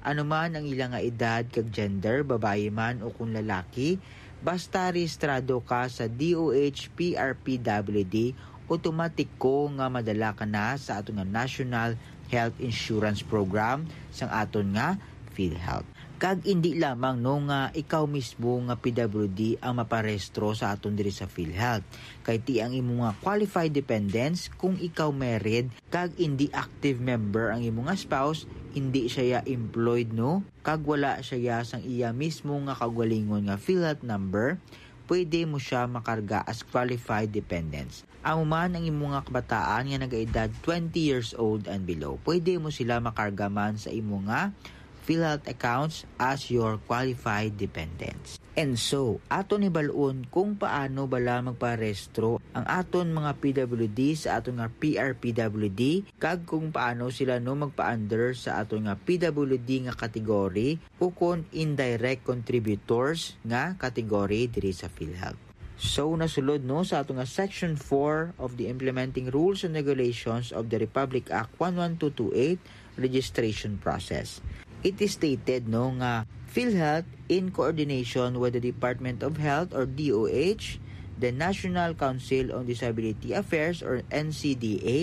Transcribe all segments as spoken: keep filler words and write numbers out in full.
Anuman ang ila nga edad kag gender, babayi man o kung lalaki, basta rehistrado ka sa D O H P R P W D, automatiko nga madala ka na sa aton nga National Health Insurance Program sang aton nga PhilHealth. Kag indi lamang, no, nga ikaw mismo nga P W D ang maparehistro sa aton diri sa PhilHealth, kay ti ang imo nga qualified dependents, kung ikaw married kag indi active member ang imo nga spouse, indi siya ya employed, no, kag wala siya ya sang iya mismo nga kaugalingon nga PhilHealth number, pwede mo siya makarga as qualified dependents. Amo man ang imo nga kabataan nga nagaedad twenty years old and below, pwede mo sila makarga man sa imo nga PhilHealth accounts as your qualified dependents. And so, aton hibalon kung paano bala magparehistro ang aton mga P W D sa aton nga P R P W D, kag kung paano sila, no, magpa-under sa aton nga P W D nga category, ukon indirect contributors nga category diri sa PhilHealth. So, nasulod, no, sa ato nga Section four of the Implementing Rules and Regulations of the Republic Act one one two two eight, registration process. It is stated, no, nga PhilHealth, in coordination with the Department of Health or D O H, the National Council on Disability Affairs or N C D A,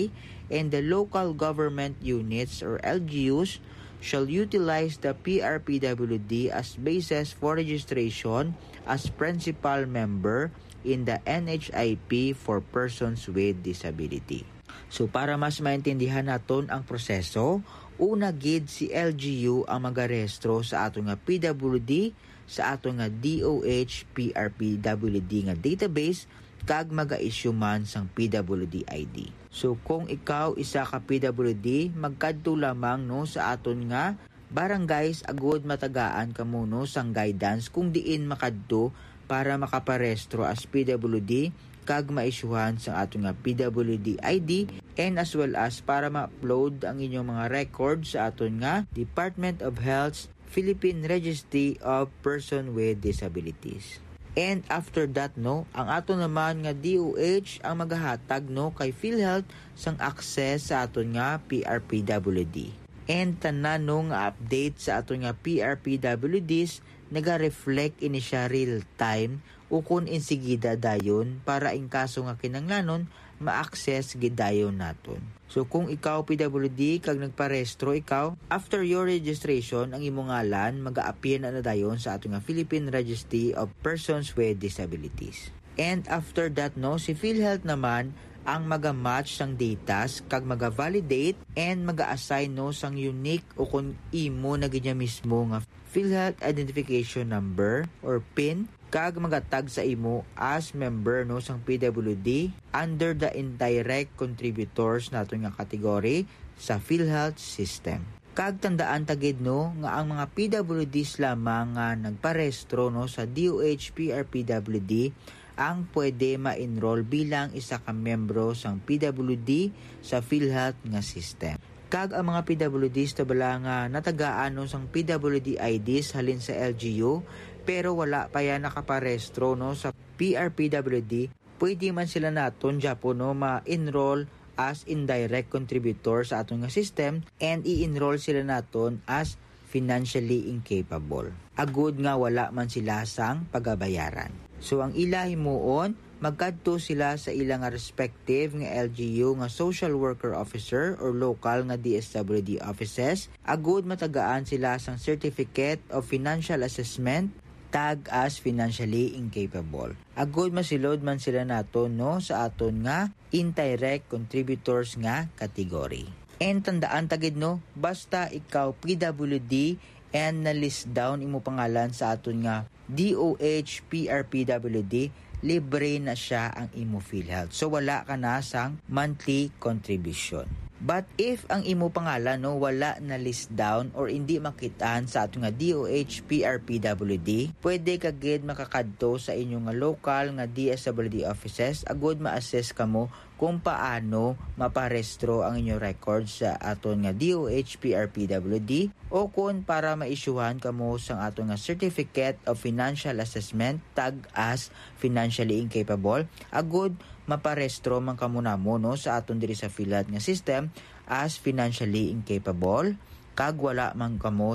and the local government units or L G Us, shall utilize the P R P W D as basis for registration as principal member in the N H I P for persons with disability. So, para mas maintindihan naton ang proseso, una gid si L G U ang magarehistro sa aton nga P W D, sa aton nga D O H P R P W D nga database, kag maga-issue man sang P W D I D. So, kung ikaw isa ka P W D, magkadto lamang, no, sa aton nga barangays agud matagaan kamo, no, sang guidance kung diin makadto para makaparehistro as P W D kag maisyuhan sang aton nga P W D I D, and as well as para ma-upload ang inyong mga records sa aton nga Department of Health's Philippine Registry of Person with Disabilities. And after that, no, ang aton naman nga D O H ang magahatag, no, kay PhilHealth sang access sa aton nga P R P W D. And tanan, no, nga update sa aton nga P R P W Ds naga-reflect ini siya real time ukon insigida dayon, para in kaso nga kinahanglanon, ma-access gid dayon naton. So, kung ikaw P W D kag nagparehistro ikaw, after your registration, ang imong ngalan maga-appear na, na dayon sa ato nga Philippine Registry of Persons with Disabilities. And after that, no, si PhilHealth naman ang maga-match sang datas kag maga-validate and maga-assign, no, sang unique ukon imo na gid niya mismo nga PhilHealth Identification Number or pin, kag magatag sa imo as member, no, sang P W D under the indirect contributors naton nga category sa PhilHealth system. Kag tandaan ta gid, no, nga ang mga P W Ds lamang nga nagparehistro, no, sa D O H P R P W D ang pwede ma-enroll bilang isa ka miyembro sang P W D sa PhilHealth nga system. Kag ang mga P W Ds ta bala nga natagaan, no, sang P W D I Ds halin sa L G U, pero wala pa yan nakaparehistro, no, sa P R P W D, pwede man sila naton gyapon, no, ma-enroll as indirect contributor sa aton nga system, and i-enroll sila naton as financially incapable, agud nga wala man sila sang pagabayaran. So, ang ila himuon, magkadto sila sa ila nga respective nga L G U nga social worker officer or local nga D S W D offices, agud matagaan sila sang Certificate of Financial Assessment, tag as financially incapable, agud masulod man sila naton, no, sa aton nga indirect contributors nga category. And tandaan ta gid, no, basta ikaw P W D and na-list down imo pangalan sa aton nga D O H P R P W D, libre na siya ang imo PhilHealth. So, wala ka na sang monthly contribution. But if ang imo pangalan, no, wala na-list down or indi makit-an sa aton nga D O H P R P W D, pwede ka gid makakadto sa inyo nga local nga D S W D offices agud ma-assist kamo kung paano maparehistro ang inyo records sa aton nga D O H P R P W D, o kon para ma-issuehan kamo sang aton nga Certificate of Financial Assessment, tag as financially incapable, agud maparehistro man kamo namo, no, sa aton diri sa PhilHealth nga system as financially incapable, kag wala man kamo